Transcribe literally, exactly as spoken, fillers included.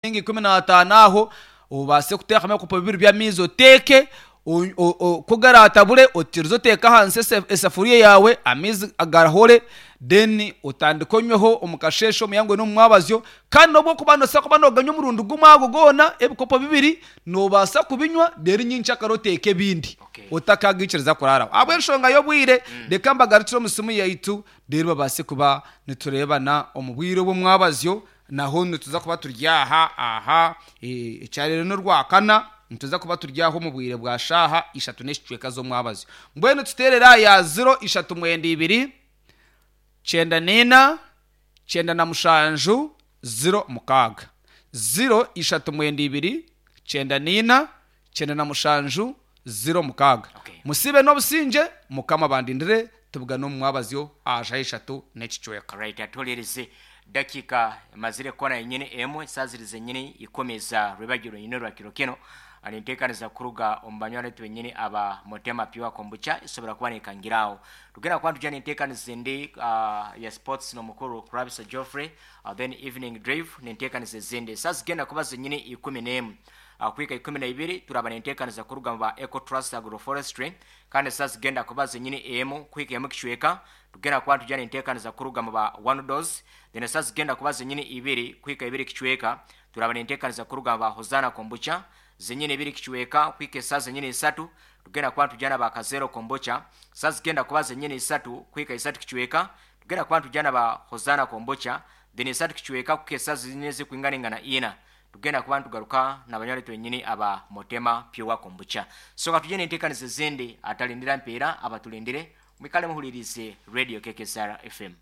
Nka ikumi n'ataano aho obaase kuteekamu ebikopo bibiri by'amaizi oteeke o- o- o- ku garatabure otiirize oteeke ahansi ese- esafuriya yaawe, amaizi garahore, then otandike onyweho omu kasheeshe, omu ihangwe n'omu mwabazyo. Kandi n'obu okuba noobaasa kuba nooganywa omurundi gumwe ago goona ebikopo bibiri noobaasa kubinywa, reero nyenkyakare oteeke ebindi Okay. otakagaikiriza kuraaraho ahabw'enshonga y'obwire. Reka mbagarukire omu simu yaitu, reero babaase kuba nitureebana omu bwire obw'omwabazyo. Naho nituza kuba turi aha aha eh, ekyarero n'orwakana, nituza kuba turi aho omu bwire bwa shaaha ishatu n'ekicweka z'omwabazyo. Mbwenu tuteerera ya ziro ishatu mwenda ibiri kyenda nina kyenda na mushanju ziro mukaaga, ziro ishatu mwenda ibiri kyenda nina kyenda na mushanju ziro mukaaga. Okay. Musibe n'obusingye, Mukama bandindire, tubugane omu mwabazyo aha shaaha ishatu n'ekicweka. Right, atuhulirize dakika mazire kona yenyine emwe saziri zenyine ikumi za rwebagiro nyine rwa kiro kino. Ninteekaniza kuruga omu banywani twenyine aba Motema Pure Kombucha isobora kuba nekangiraho. Tugenda kuba tujya nenteekaniza endi uh, ya sports n'omukuru Krabisa Geoffrey, uh, then evening drive nenteekaniza ezindi saa zigenda kuba zenyine ikumi n'emu uh, kuhika ikumi na ibiri. Turaba nenteekaniza kuruga mu ba Eco Trust Agroforestry, kandi saa zigenda kuba zenyine emu kuhika emu kicweka tugenda kuba tujya nenteekaniza kuruga mu ba One Dose. Then saa zigenda kuba zenyine ibiri kuhika ibiri kicweka turaba nenteekaniza kuruga mu ba Hosana Kombucha. Zenyine ibiri kicweka kuhika esaa zenyine isatu tugenda kuba tujyana ba Kazero Kombucha. Saa zigenda kuba zenyine isatu kuhika isatu kicweka tugenda kuba tujyana ba Hosana Kombucha. Then isatu kicweka kuhika esaa zenyine zikwinganingana ina tugenda kuba ntugaruka n'abanywani twenyini aba Motema Pure Kombucha. So katujye nenteekaniza ezindi atalindira mpeera abatulindire. Mwikale muhulirize Radio K K S R F M.